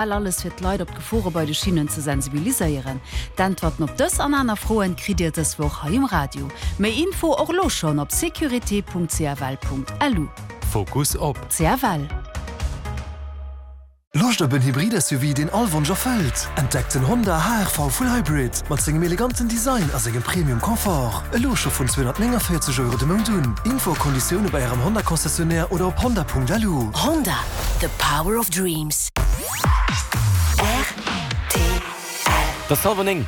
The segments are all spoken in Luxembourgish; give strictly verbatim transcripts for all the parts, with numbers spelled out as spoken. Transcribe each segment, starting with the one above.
Alles fir d'Leit op d'Gefore bei de Schinnen ze sensibiliséieren? D'Äntwerten op dës an aner Froen kritt Dir dës Woch hei um Radio. Méi Info och elo schonn op sécurité.cfl.lu. Fokus op. C F L. Loscht op en Hybrid-S U V, deen all Wonsch erfëllt? Entdeckt den Honda H R V Full Hybrid mat sengem eleganten Design a sengem Premium Confort. Elo scho vun zweehonnertnénganvéierzeg Euro de Mount un. Info a Konditioune bei ärem Honda Concessionnaire oder op honda Punkt L U. Honda, the power of dreams. R T L. Et ass hallwer néng.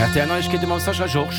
R T L Neiegkeete mam Sascha Georges.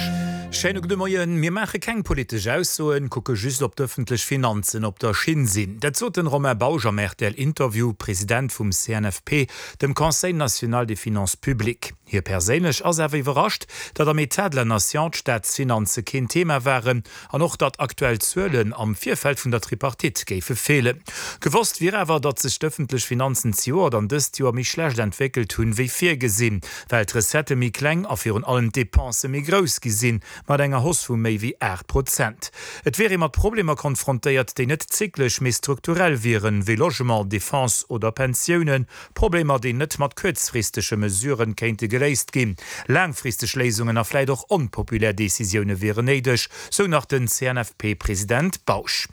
Schéine gudde Moien. Mir maache keng politesch Aussoen, kucke just ob d'ëffentlech Finanzen op der Schinn sinn. Dat sot den Romain Bausch am R T L-Interview, President vum C N F P, dem Conseil national des finances publiques. Hie perséinlech ass awer iwwerrascht, datt am État de la Nation d'Staatsfinanze keen Thema waren an och datt aktuell Zuelen am Virfeld vun der Tripartite géife feelen. Gewosst wier awer, datt sech d'ëffentlech Finanzen zejoert an dëst Joer méi schlecht entwéckelt hunn, wéi virgesinn, well d'Recettë méi kleng a virun allem d'Depensë méi grouss gi sinn, mat enger Hausse vu méi wéi aacht Prozent. Et wier ee mat Problemer konfrontéiert, déi net zyklesch, mee strukturell wieren, wéi Logement, Defense oder Pensiounen, Problemer, déi net mat kuerzfristege Mesuren kéinte geléist ginn. Laangfristeg Léisungen a vläicht och onpopulär Decisioune wieren néideg, sou nach den C N F P-President Bausch.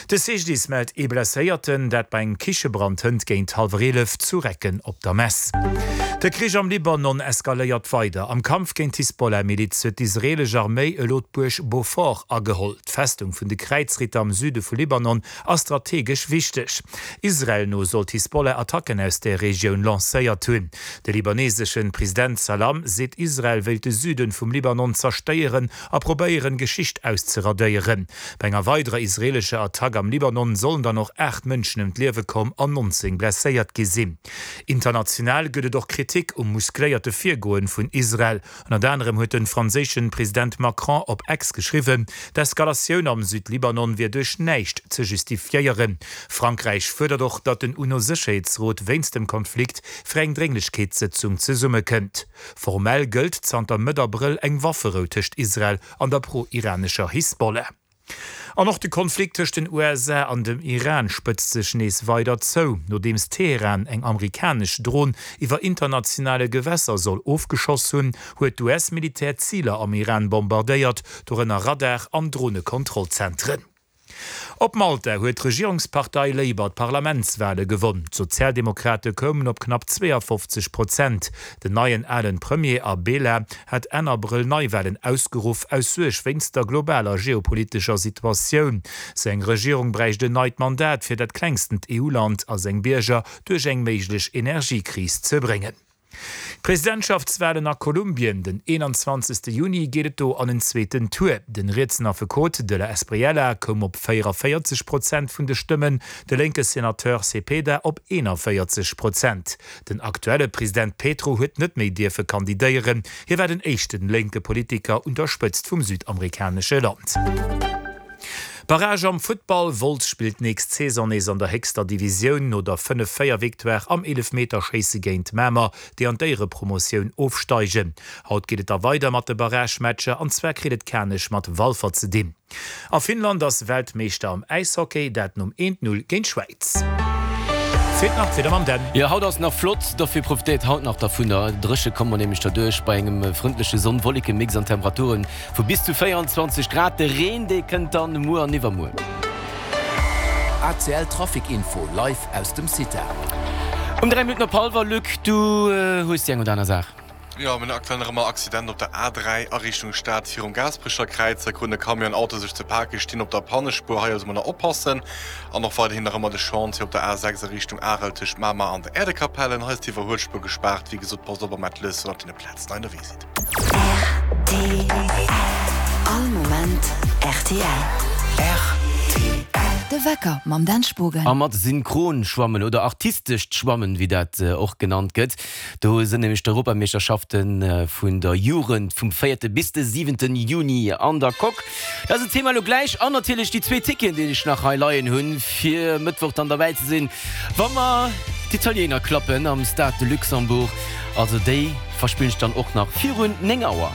De C G D I S mellt ee Blesséierten, dat bei engem Kichebrand hënt géint hallwer eelef zu Recken op der Mess. De Krich am Libanon eskaléiert weider. Am Kampf géint d'Hisbollah-Miliz huet d'israeelesch Arméi elo d'Buerg Beaufort ageholl. D'Festung vun de Kräizritter am Süde vu Libanon ass strategesch wichteg. Israel no soll d'Hisbollah Attacken aus der Regioun lancéiert hunn. De libaneesesche President Salam seet, Israel wéilt de Süde vum Libanon zerstéieren a probéieren, Geschicht auszeradéieren. Bei enger weiderer israeelescher Attack am Libanon sollen dann och aacht Mënschen ëm d'Liewe komm an nonzéng blesséiert gi sinn. International gëtt et och Kritik um muskléierte Virgoen vun Israel. Ënnert anerem huet de franséische President Macron op X geschriwwen, d'Eskalatioun am Südlibanon wier duerch näischt ze justifiéieren. Frankräich fuerdert och, datt den UNO-Sécherheetsrot wéinst dem Konflikt fir eng Drénglechkeetssëtzung zesummekënnt. Formell gëllt zanter Mëtt Abrëll eng Wafferou tëscht Israel an der pro-iranescher Hisbollah. An och de Konflikt tëscht den U S A an dem Iran spëtzt sech nees weider zou. Nodeems Teheran eng amerikanesch Dron iwwer internationale Gewässer soll ofgeschoss hunn, huet d'U S-Militär Ziler am Iran bombardéiert, dorënner Radar an Dronekontrollzentren. Op Malta huet d'Regierungspartei Labour d'Parlamentswale gewonn. D'Sozialdemokrate koumen op knapp zweeafofzeg Prozent. Den neien alen Premier Abela hat Enn Abrëll Neiwalen ausgeruff, aus Suerg wéinst der globaler geopolitescher Situatioun. Seng Regierung bräicht en neit Mandat, fir dat klengstent E U-Land a seng Bierger duerch eng méiglech Energiekris ze bréngen. Presidentschaftswalen a Kolumbien, den eenanzwanzegste Juni geet et do an en zweeten Tour. Den rietsen Affekot de la Espriella koum op véieranvéierzeg Prozent vun de Stëmmen, de lénke Senateur Cepeda op eenanvéierzeg Prozent. Den aktuelle President Petro huet net méi dierfe kandidéieren. Hie war den éischten lénke Politiker un der Spëtzt vum südamerikanesche Land. Barrage am Futtball, Wolz spillt nächst Saison nees an der héchster Divisioun no der fënnef-véier Victoire am Eelefmeterschéisse géint Mamer, déi an d'Éierepromotioun ofsteigen. Haut geet et da weider mat de Barrage-Matcher an zwar kritt et Kanech mat Walfer ze dinn. A Finnland ass Weltmeeschter am Äishockey, dat nom eent-null géint d'Schwäiz. Feelt nach d'Wieder mam Dan. Jo, haut ass nach flott, dofir profitéiert haut nach dervunner. Dréche komme mer nämlech derduerch bei engem frëndleche Sonn-Wolleke-Mix an Temperaturen vu bis zu véierundzwanzeg Grad. De Reen, dee kënnt dann muer an iwwermuer. A C L Trafic Info live aus dem Cita. Um dräi Minutten op hallwer, Luc, du hues déi eng oder aner Saach. Jo, mir hunn aktuell nach ëmmer Accident op der A dräi a Richtung Stad virum Gaasperecher Kräiz. Da kruten e Camion an Auto sech ze pake, stinn op der Pannespuer. Hei also mol nach oppassen. An och weiderhin nach ëmmer de Chantier op der A sechs a Richtung Arel tëscht Mamer an der Äerdekapellen. Hei ass d'Iwwerhuelspuer gespaart. Wéi gesot, passt op am Atlas, wann der op deene Plazen hei ënnerwee sidd. R T L. All Moment R T L. R T L. De Wecker mam Dan Spogen. A mat Synchronschwammen oder artistescht Schwammen, wéi dat och genannt gëtt. Do sinn nämlech d'Europameeschterschafte vun der Jugend vum véierte bis de siwenten Juni an der Coque. Dat ass en Thema elo gläich. An natierlech déi zwee Ticketen, déi ech nach hei leien hunn, fir Mëttwoch dann derbäi ze sinn, wa mer d'Italiener klappen am Stade de Luxembourg. Also déi verspillen ech dann och nach virun néng Auer.